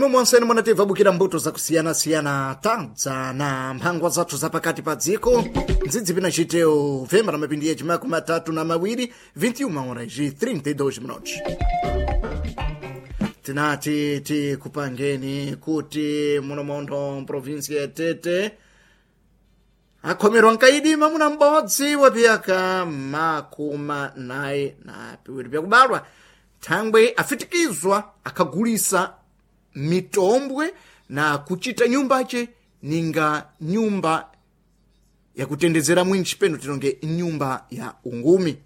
Imwe mwonseni munatimva bukira mbuto zakusiyana-siyana tadza na mphangwa zathu zapakati pa dziko ndzidzi pina citeo vemba na mapindi yeji 32 21 horas e 32 minutos. Tinati tikupangeni kuti muno montho mprovinsi ya Tete akhomerwa nkaidi mamuna m'bodzi wa piyaka 42 pyakubalwa thangwe afitikizwa akhagulisa mitombwe na kuchita nyumbache ninga nyumba yakutendezera mwinchi peno tilonge nyumba ya ungumi.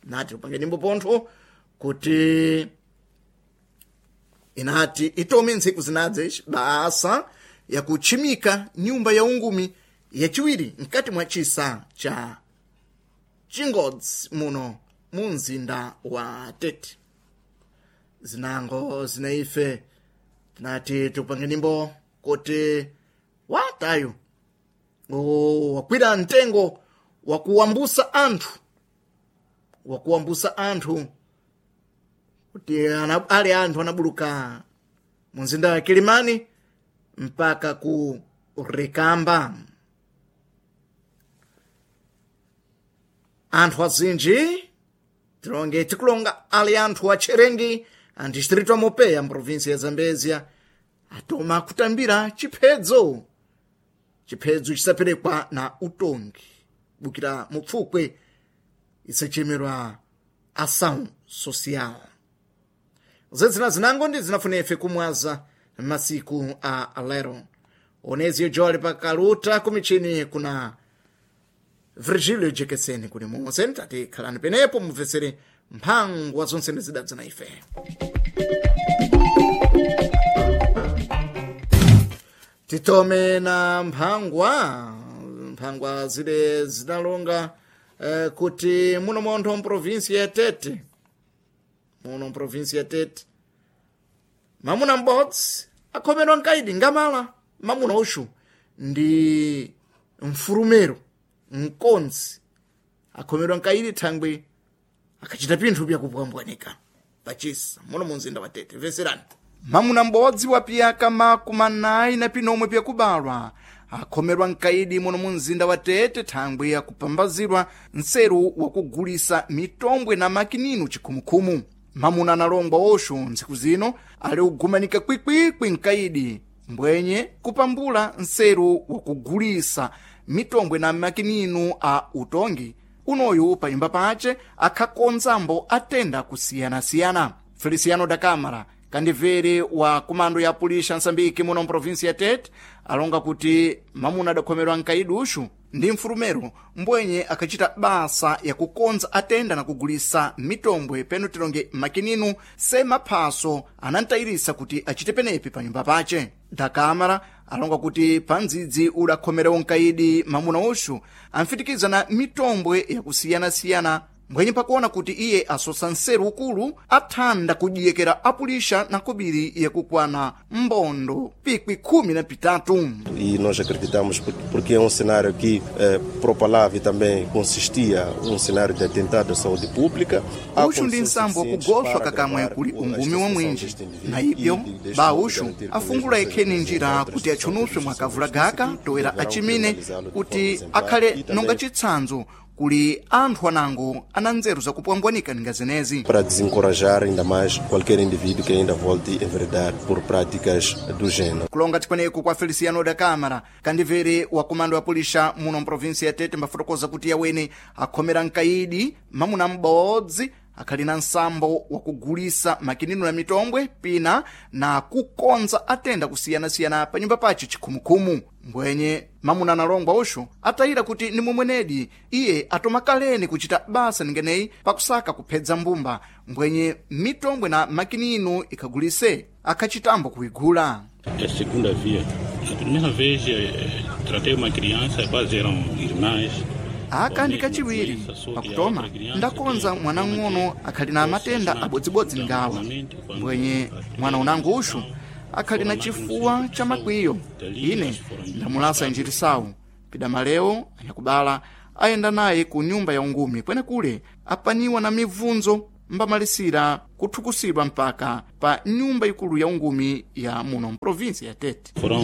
Nati upange nyimbo pontho kuti inati itome ntsiku zinadze basa yakuchimika nyumba ya ungumi yachiwiri mkati mwa chisa cha chingodzi muno mu mzinda wa Tete. Zinango zinaife tinati tikupange nyimbo kuti watayo wakwira mtengo wakuwambusa anthu kuti ali anthu anabuluka mu mzinda wa Kilimani mpaka ku Rikamba. Anthu azinji tilonge tikulonga ali anthu acherengi a distrito a Mopeya mprovinsi ya Zambezia atoma kutambira chiphedzo chisaperekwa na utongi bukira mupfukwe isachemerwa ação social. Zedzina zinango ndi zinafuna ife kumwaza masiku a lero. Onezio Jole pakaluta kumichini kuna Virgilio Jekeseni kuli monse tati khalani penepo mubvesere mphangwa zonse ndizidadza na ife. Titome na mphangwa zile zinalonga kuti muno montho mprovinsi ya Tete mamuna m'bodzi akhomerwa nkaidi ngamala mamuna uxu ndi mfurumero mkonzi akhomerwa nkaidi thangwe akachita pinthu pyakupwambwanika pachisa muno mu mzinda wa Tete. Veserani mamuna m'bodzi wa piyaka 45 pyakubalwa akhomerwa nkaidi muno mu mzinda wa Tete thangwe akupambazirwa nseru wakugulisa mitombwe na makininu chikhumukhumu. Mamuna analongwa oxo ntsiku zino ali kugumanika kwikwikwi nkaidi mbwenye kupambula nseru wakugulisa mitombwe na makininu a utongi unoyu panyumba pace akhakonzambo atenda kusiyanasiyana. Feliciano da Câmara kandivere wa kumando ya pulisha Msambiki muno mprovinsi ya Tete alonga kuti mamuna adakhomerwa nkaidi uxu ndi mfurumero mbwenye akachita basa yakukonza atenda na kugulisa mitombwe peno tilonge makininu se maphaso anantayirisa kuti achite penepi panyumba pace. Da Câmara alonga kuti pandzidzi udakhomerewo nkaidi mamuna uxu amfitikiza na mitombwe yakusiyanasiyana mbwenye pakuona kuti iye asosa nseru ukulu athanda kudiyekera apulisha na kobiri yakukwana mbondo pikwi 13. E nós acreditamos porque é um cenário que propalava e também consistia um cenário de atentado à saúde pública. Uxu ndi nsambo wakugoswa kakamwe kuli ungumi wa mwinji na ibyo ba uxu afungula ikheni njira kuti atchunuswe mwakavula gaka toera achimine kuti akhale nonga chitsanzo kuli anthu anango ana nzeru zakupwambwanika ninga zenezi para desencorajar ainda mais qualquer indivíduo que ainda volte a enveredar por práticas do gênero. Kulonga tikweneku kwa Feliciano da Câmara kandivere wa komando ya pulisha muno mprovinsi ya Tete mbafotokoza kuti yawene akhomera nkaidi mamuna m'bodzi akhali na nsambo wakugulisa makinino na mitombwe pina na kukonza atenda kusiyanasiyana pa nyumba pace chikhumukhumu. Mbwenye mamuna analongwa uxu atayira kuti ni momwenedi iye atoma kaleni kuchita basa ningeneyi pakusaka kuphedza mbumba mbwenye mitombwe na makinino ikhagulise akhachitambo kuigula. É a segunda via. A primeira vez tratei uma criança, quase eram irmãs. Aka ndi kachiwiri pakutoma ndakonza mwana ng'ono akhali na matenda abodzibodzi ngawa mbwenye mwana unango uxu akhali na chifuwa cha makwiyo. Ine ndamulasa njirisawu pidamalewo anyakubala ayenda naye ku nyumba ya ungumi kwenekule apaniwa na mibvunzo mbamalisira kuthukusidwa mpaka pa nyumba ikulu ya ungumi ya muno mprovinsia ya Tete. Foram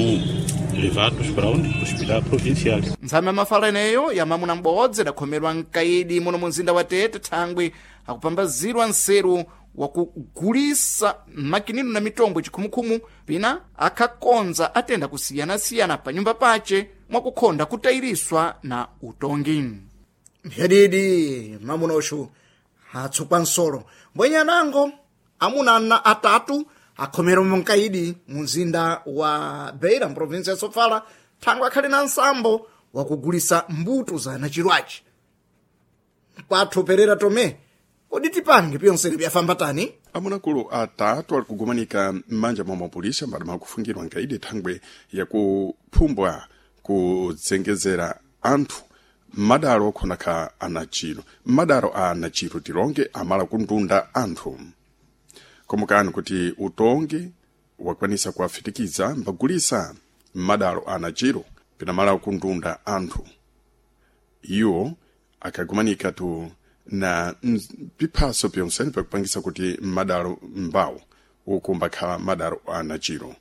levados para onde? Hospital Provincial. Ntsame ya mafala eneyo ya mamuna m'bodzi adakhomerwa mkaidi muno mu mzinda wa Tete thangwi akupambazirwa nseru wakugulisa makinino na mitombo chikhumukhumu pina akhakonza atenda kusiyanasiyana pa nyumba pace mwakukhonda kutayiriswa na utongi. Mphedidi mamuna uxu atsukwa nsolo mbwenyanango amuna ana atatu akhomera munkaidi mu mzinda wa Beira mprovinsi ya Sofala thangwi akhali na nsambo wakugulisa mbuto za nachirwachi kwathu Perera Tome kodi tipange pyonsene byafamba tani? Amunakulu atatu ali kugumanika m'manja mwa mapolisa mbali mwakufungirwa nkaidi thangwe yakuphumbwa kudzengezera anthu m'madalo okhonakha anachiro m'madalo a anachiro tilonge amala kundunda anthu komukani kuti utongi wakwanisa kuwafitikiza mbagulisa m'madalo a anachiro pinamala kundunda anthu iwo akagumanika tu na piphaso pyonsene pakupangisa kuti m'madalo mbawo uku mbakhala madalo a anachiro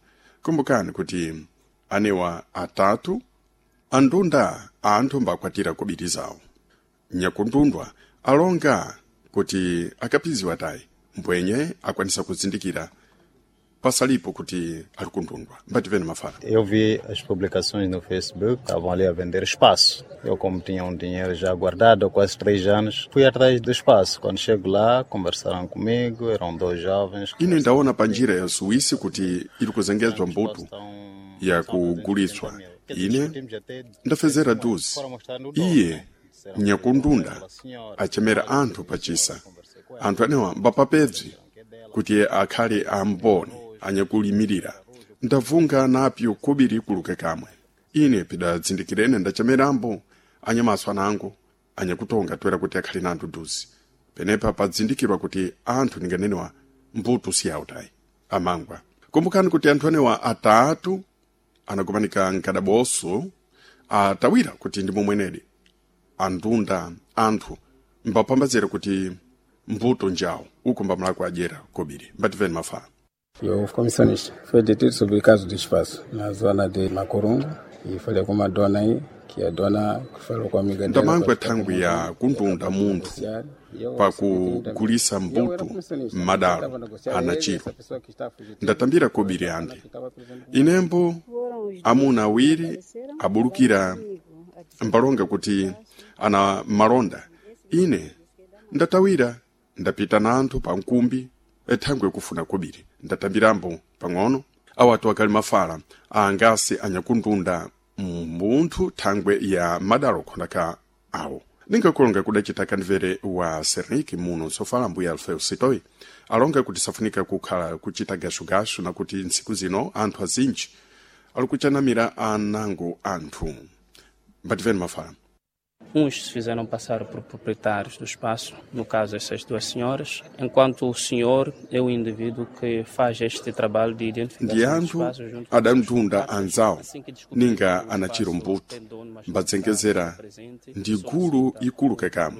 kumbukani kuti anewa atatu andunda anthu mbakwatira kobiri zawo nyakundundwa alonga kuti akapiziwa tayi mbwenye akwanisa kuzindikira pasalipo kuti ali kundundwa mbativene mafala. Eu vi as publicações no Facebook, estavam ali a vender espaço. Eu, como tinha dinheiro já guardado há quase 3 anos, fui atrás do espaço. Quando chego lá, conversaram comigo, eram dois jovens. Ine ndaona pa njira ya suwisi kuti ili kuzengezwa mbuto yakuguliswa. Ine ndafezera duzi iye nyakundunda achemera anthu pachisa anthu anewa mbapapebzi kuti akhale amboni anyakulimirira. Ndavunga napyo kubiri kuluke kamwe ine pidadzindikirene ndachemerambo anyamaso anango anyakutonga toera kuti akhale na anthu duzi penepa padzindikirwa kuti anthu ninganenewa mbuto siyawo tayi amangwa. Kumbukani kuti anthu anewa atatu anagumanika mkadaboso atawira kuti ndi momwenedi andunda anthu mbapambazira kuti mbuto njawo uku mbamulako adyera kobiri. Mbativeni mafala. Eu comissionista foi detido sobre caso de espaço na zona de Macorungo e falei com uma dona aí que a dona falou com a amiga dela. Ndamangwa thangwi ya kundunda munthu pakugulisa mbuto m'madalo anachiro. Ndatambira kobiri andi inembo amuna awiri abulukira mbalonga kuti ana malonda. Ine ndatawira ndapita na anthu pa nkumbi ethangwe kufuna kobiri ndatambirambo pang'ono. Awatu akali mafala angasi anyakundunda munthu thangwe ya madalo khonaka awo ningakulonga kudacita kandivere wa Serniki muno sofala mbuya Alfeu Sitoi alonga kuti safunika kukhala kuchita gashugashu na kuti ntsiku zino anthu azinji ali kuchanamira anango anthu. Mbativeni mafala. Uns se fizeram passar por proprietários do espaço, no caso essas duas senhoras, enquanto o senhor é o indivíduo que faz este trabalho de identificação ndi do anthu espaço junto com os adamtunda anzawo Assim que descobrimos ninga que o anachiro espaço mbuto tem dono, mas não mbadzengezera está presente, ndi gulu ikulu kakamwe.